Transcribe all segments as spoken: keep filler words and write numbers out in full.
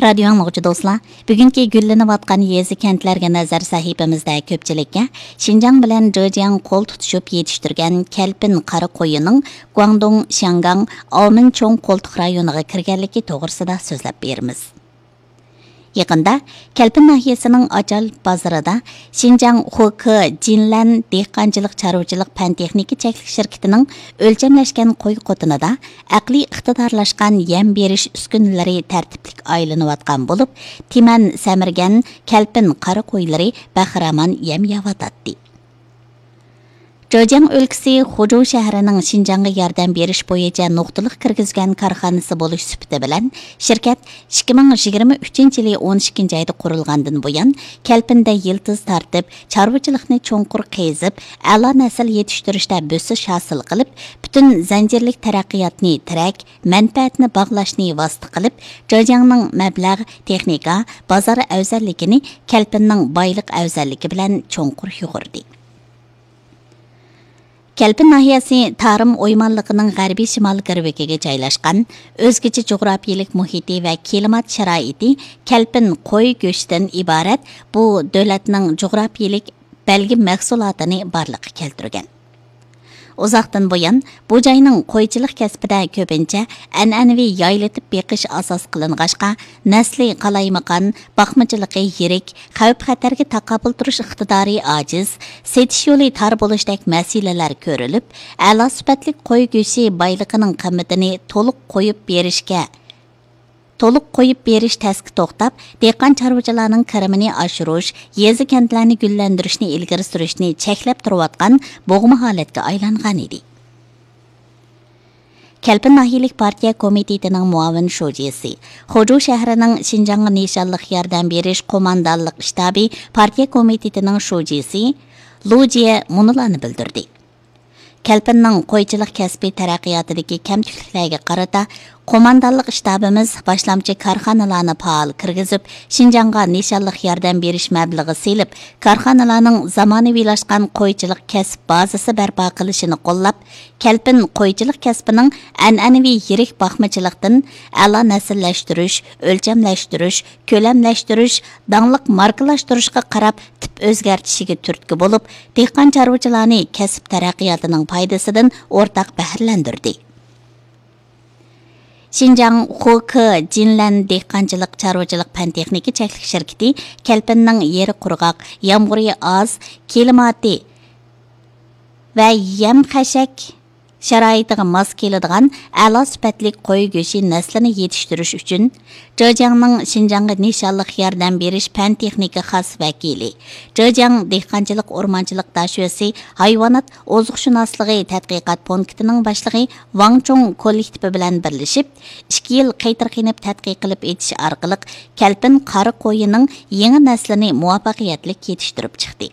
رادىيو ئاڭلىغۇچى دوستلار، بۈگۈنكى گۈللىنىۋاتقان يېزا كەنتلەرگە نەزەر سەھىپىمىزدە كۆپچىلىككە شىنجاڭ بىلەن جېجياڭ قول تۇتۇشۇپ يېتىشتۈرگەن كەلپىن قارا قويىنىڭ گۇاڭدۇڭ، شياڭگاڭ، ئاۋمېن چوڭ قولتۇق رايونىغا كىرگەنلىكى توغرىسىدا سۆزلەپ بېرىمىز. يېقىندا كەلپىن ناھىيەسىنىڭ ئاچال بازىرىدا شىنجاڭ خۇكې جىنلەن دېھقانچىلىق چارۋىچىلىق پەن تېخنىكا چەكلىك شىركىتىنىڭ ئۆلچەملەشكەن قوي قوتىنىدا ئەقلىي ئىقتىدارلاشقان يەم بېرىش ئۈسكۈنىلىرى تەرتىپلىك ئايلىنىۋاتقان بولۇپ، تىمەن سەمرىگەن كەلپىن قارا قويلىرى بەخىرامان يەم يەۋاتاتتى. جېجياڭ ئۆلكىسى خۇجۇ شەھىرىنىڭ شىنجاڭغا ياردەم بېرىش بويىچە نۇقتىلىق كىرگۈزگەن كارخانىسى بولۇش سۈپىتى بىلەن، شىركەت ئىككى مىڭ يىگىرمە ئۈچىنچى يىلى ئون ئىككىنچى ئايدا قۇرۇلغاندىن بۇيان، كەلپىندە يىلتىز تارتىپ، چارۋىچىلىقنى چوڭقۇر قېزىپ، ئەلا نەسىل يېتىشتۈرۈشتە بۆسۈش ھاسىل قىلىپ، پۈتۈن زەنجىرلىك تەرەققىياتنى تىرەك، مەنپەئەتنى باغلاشنى ۋاسىتە قىلىپ، جېجياڭنىڭ مەبلەغ، تېخنىكا، بازار ئەۋزەللىكىنى كەلپىننىڭ بايلىق ئەۋزەللىكى بىلەن چوڭقۇر يۇغۇردى. كەلپىن ناھىيەسى تارىم ئويمانلىقىنىڭ غەربىي شىمال گىرۋىكىگە جايلاشقان، ئۆزگىچە جۇغراپىيىلىك مۇھىتى ۋە كىلىمات شارائىتى كەلپىن قوي گۆشىدىن ئىبارەت بۇ دۆلەتنىڭ جۇغراپىيىلىك بەلگە مەھسۇلاتىنى بارلىققا كەلتۈرگەن. ئۇزاقتىن بۇيان، بۇ جاينىڭ قويچىلىق كەسپىدە كۆپىنچە ئەنئەنىۋى يايلىتىپ بېقىش ئاساس قىلىنغاچقا، نەسلى قالايمىقان، باقمىچىلىقى يىرىك، خەۋپ-خەتەرگە تاقابىل تۇرۇش ئىقتىدارى ئاجىز، سېتىش يولى تار بولۇشتەك مەسىلىلەر كۆرۈلۈپ، ئەلا سۈپەتلىك قوي گۆشى بايلىقىنىڭ قىممىتىنى تولۇق قويۇپ بېرىشكە، تولۇق قويۇپ بېرىش تەسكە توختاپ، دېھقان چارۋىچىلارنىڭ كىرىمىنى ئاشۇرۇش، يېزا كەنتلەرنى گۈللەندۈرۈشنى ئىلگىرى سۈرۈشنى چەكلەپ تۇرۇۋاتقان بوغما ھالەتكە ئايلانغانىدى. كەلپىن ناھىيەلىك پارتىيە كومىتېتىنىڭ مۇئاۋىن شۇجىسى، خۇجۇ شەھىرىنىڭ شىنجاڭغا نىشانلىق ياردەم بېرىش قوماندانلىق شتابى پارتىيە كومىتېتىنىڭ شۇجىسى لۇ جيې مۇنۇلارنى بىلدۈردى: كەلپىننىڭ قويچىلىق كەسپى تەرەققىياتىدىكى كەمتۈكلۈكلەرگە قارىتا، قوماندانلىق شتابىمىز باشلامچى كارخانىلارنى پائال كىرگۈزۈپ، شىنجاڭغا نىشانلىق ياردەم بېرىش مەبلىغى سېلىپ، كارخانىلارنىڭ زامانىۋىلاشقان قويچىلىق كەسىپ بازىسى بەرپا قىلىشىنى قوللاپ، كەلپىن قويچىلىق كەسپىنىڭ ئەنئەنىۋى يىرىك باقمىچىلىقتىن ئەلا نەسىللەشتۈرۈش، ئۆلچەملەشتۈرۈش، كۆلەملەشتۈرۈش، داڭلىق ماركىلاشتۇرۇشقا قاراپ تىپ ئۆزگەرتىشىگە تۈرتكە بولۇپ، دېھقان چارۋىچىلارنى كەسىپ تەرەققىياتىنىڭ پايدىسىدىن ئورتاق بەھرىلەندۈردى. شىنجاڭ خۇكې جىنلەن دېھقانچىلىق چارۋىچىلىق پەن تېخنىكا چەكلىك شىركىتى كەلپىننىڭ يېرى قۇرغاق، يامغۇرى ئاز، كىلىماتى ۋە يەم خەشەك شارائىتىغا ماس كېلىدىغان ئەلا سۈپەتلىك قوي گۆشى نەسلىنى يېتىشتۈرۈش ئۈچۈن، جېجياڭنىڭ شىنجاڭغا نىشانلىق ياردەم بېرىش پەن تېخنىكا خاس ۋەكىلى، جېجياڭ دېھقانچىلىق ئورمانچىلىق داشۆسى ھايۋانات ئوزۇقشۇناسلىقى تەتقىقات پونكىتىنىڭ باشلىقى ۋاڭ چۇڭ كوللېكتىپى بىلەن بىرلىشىپ، ئىككى يىل قېتىرقىنىپ تەتقىق قىلىپ ئېچىش ئارقىلىق، كەلپىن قارا قويىنىڭ يېڭى نەسلىنى مۇۋەپپەقىيەتلىك يېتىشتۈرۈپ چىقتى.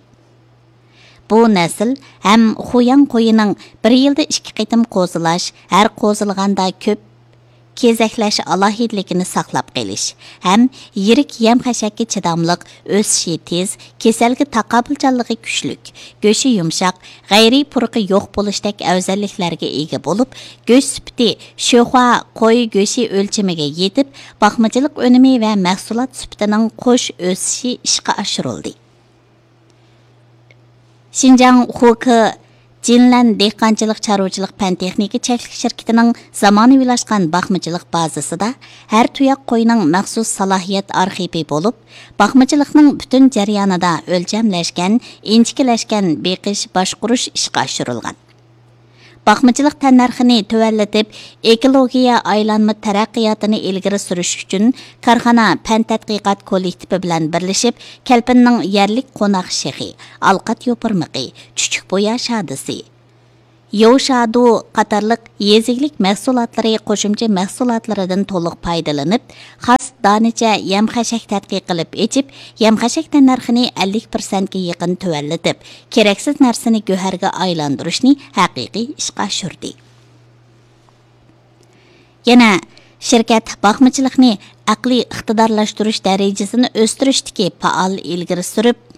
بۇ نەسىل ھەم خۇياڭ قويىنىڭ بىر يىلدا ئىككى قېتىم قوزىلاش، ھەر قوزىلىغاندا كۆپ كېزەكلەش ئالاھىدىلىكىنى ساقلاپ قېلىش ھەم يىرىك يەم-خەشەككە چىداملىق، ئۆسۈشى تېز، كېسەلگە تاقابىلچانلىقى كۈچلۈك، گۆشى يۇمشاق، غەيرىي پۇرىقى يوق بولۇشتەك ئەۋزەللىكلەرگە ئىگە بولۇپ، گۆش سۈپىتى شۆخۇا قوي گۆشى ئۆلچىمىگە يېتىپ، باقمىچىلىق ئۈنۈمى ۋە مەھسۇلات سۈپىتىنىڭ قوش ئۆسۈشى ئىشقا ئاشۇرۇلدى. شىنجاڭ خۇكې جىنلەن دېھقانچىلىق چارۋىچىلىق پەن تېخنىكا چەكلىك شىركىتىنىڭ زامانىۋىلاشقان باقمىچىلىق بازىسىدا ھەر تۇياق قوينىڭ مەخسۇس سالاھىيەت ئارخىپى بولۇپ، باقمىچىلىقنىڭ پۈتۈن جەريانىدا ئۆلچەملەشكەن، ئىنچىكىلەشكەن بېقىش، باشقۇرۇش ئىشقا ئاشۇرۇلغان. باقمىچىلىق تەننەرخىنى تۆۋەنلىتىپ، ئېكولوگىيە ئايلانما تەرەققىياتىنى ئىلگىرى سۈرۈش ئۈچۈن، كارخانا پەن تەتقىقات كوللېكتىپى بىلەن بىرلىشىپ، كەلپىننىڭ يەرلىك قوناق شېخى، ئالقات يوپۇرمىقى، چۈچۈك بويا شادىسى، يوۋشادۇ قاتارلىق يېزا ئىگىلىك مەھسۇلاتلىرى قوشۇمچە مەھسۇلاتلىرىدىن تولۇق پايدىلىنىپ، خاس دانىچە يەم-خەشەك تەتقىق قىلىپ ئېچىپ، يەم-خەشەك تەننەرخىنى ئەللىك پىرسەنتكە يېقىن تۆۋەنلىتىپ، كېرەكسىز نەرسىنى گۆھەرگە ئايلاندۇرۇشنى ھەقىقىي ئىشقا ئاشۇردى. يەنە شىركەت باقمىچىلىقنى ئەقلىي ئىقتىدارلاشتۇرۇش دەرىجىسىنى ئۆستۈرۈشتىكى پائال ئىلگىرى سۈرۈپ،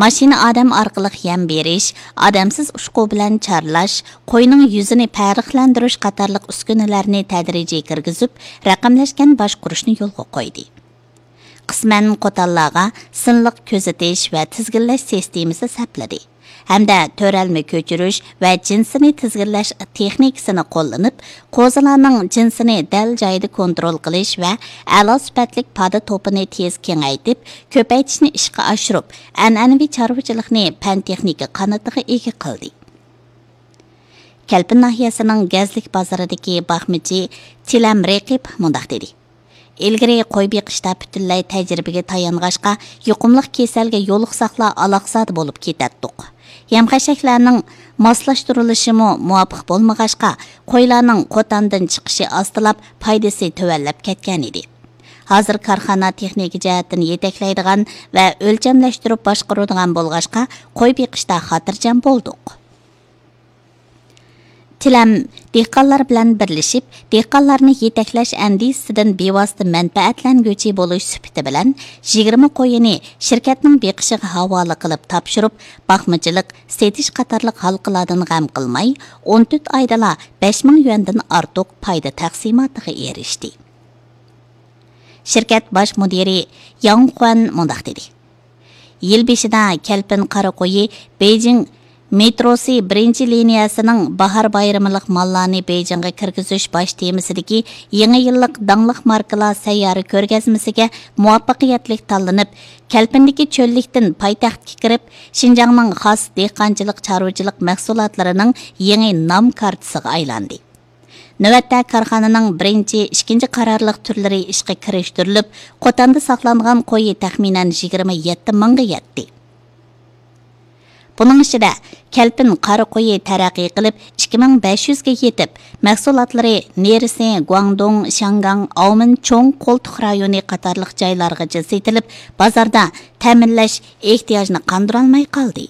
ماشىنا ئادەم ئارقىلىق يەم بېرىش، ئادەمسىز ئۇچقۇ بىلەن چارلاش، قوينىڭ يۈزىنى پەرقلەندۈرۈش قاتارلىق ئۈسكۈنىلەرنى تەدرىجىي كىرگۈزۈپ، رەقەملەشكەن باشقۇرۇشنى يولغا قويدى. قىسمەن قوتانلارغا سىنلىق كۆزىتىش ۋە تىزگىنلەش سىستېمىسى سەپلىدى ھەمدە تۆرەلمە كۆچۈرۈش ۋە جىنسىنى تىزگىنلەش تېخنىكىسىنى قوللىنىپ، قوزىلارنىڭ جىنسىنى دەل جايىدا كونترول قىلىش ۋە ئەلا سۈپەتلىك پادا توپىنى تېز كېڭەيتىپ، كۆپەيتىشنى ئىشقا ئاشۇرۇپ، ئەنئەنىۋى چارۋىچىلىقنى پەن تېخنىكا قانىتىغا ئىگە قىلدى. كەلپىن ناھىيەسىنىڭ گەزلىك بازىرىدىكى باقمىچى تىلەم رېقىپ مۇنداق دېدى: ئىلگىرى قوي بېقىشتا پۈتۈنلەي تەجرىبىگە تايانغاچقا، يۇقۇملۇق كېسەلگە يولۇقساقلا ئالاقزادە بولۇپ كېتەتتۇق. يەم-خەشەكلەرنىڭ ماسلاشتۇرۇلۇشىمۇ مۇۋاپىق بولمىغاچقا، قويلارنىڭ قوتاندىن چىقىشى ئاستىلاپ، پايدىسى تۆۋەنلەپ كەتكەنىدى. ھازىر كارخانا تېخنىكا جەھەتتىن يېتەكلەيدىغان ۋە ئۆلچەملەشتۈرۈپ باشقۇرىدىغان بولغاچقا، قوي بېقىشتا خاتىرجەم بولدۇق. تىلەم دېھقانلار بىلەن بىرلىشىپ، دېھقانلارنى يېتەكلەش ئەندىزىسىدىن بىۋاسىتە مەنپەئەتلەنگۈچى بولۇش سۈپىتى بىلەن، يىگىرمە قويىنى شىركەتنىڭ بېقىشىغا ھاۋالە قىلىپ تاپشۇرۇپ، باقمىچىلىق، سېتىش قاتارلىق ھالقىلاردىن غەم قىلماي، ئون تۆت ئايدىلا بەش مىڭ يۈەندىن ئارتۇق پايدا تەقسىماتىغا ئېرىشتى. شىركەت باش مۇدىرى ياڭ خۇەن مۇنداق دېدى: يىل بېشىدا كەلپىن قارا قويى بېيجىڭ مېتروسى بىرىنچى لىنىيەسىنىڭ باھار بايرىملىق ماللارنى بېيجىڭغا كىرگۈزۈش باش تېمىسىدىكى يېڭى يىللىق داڭلىق ماركىلار سەييارە كۆرگەزمىسىگە مۇۋەپپەقىيەتلىك تاللىنىپ، كەلپىندىكى چۆللۈكتىن پايتەختكە كىرىپ، شىنجاڭنىڭ خاس دېھقانچىلىق، چارۋىچىلىق مەھسۇلاتلىرىنىڭ يېڭى نام كارتىسىغا ئايلاندى. نۆۋەتتە كارخانىنىڭ بىرىنچى، ئىككىنچى قارارلىق تۈرلىرى ئىشقا كىرىشتۈرۈلۈپ، قوتاندا ساقلانغان قويى تەخمىنەن يىگىرمە يەتتە مىڭغا يەتتى. بۇنىڭ ئىچىدە، كەلپىن قارا قويى تەرەققىي قىلىپ، ئىككى مىڭ بەش يۈزگە يېتىپ، مەھسۇلاتلىرى نېرىسى گۇاڭدۇڭ، شياڭگاڭ، ئاۋمېن چوڭ قولتۇق رايونى قاتارلىق جايلارغىچە سېتىلىپ، بازاردا تەمىنلەش ئېھتىياجىنى قاندۇرالماي قالدى.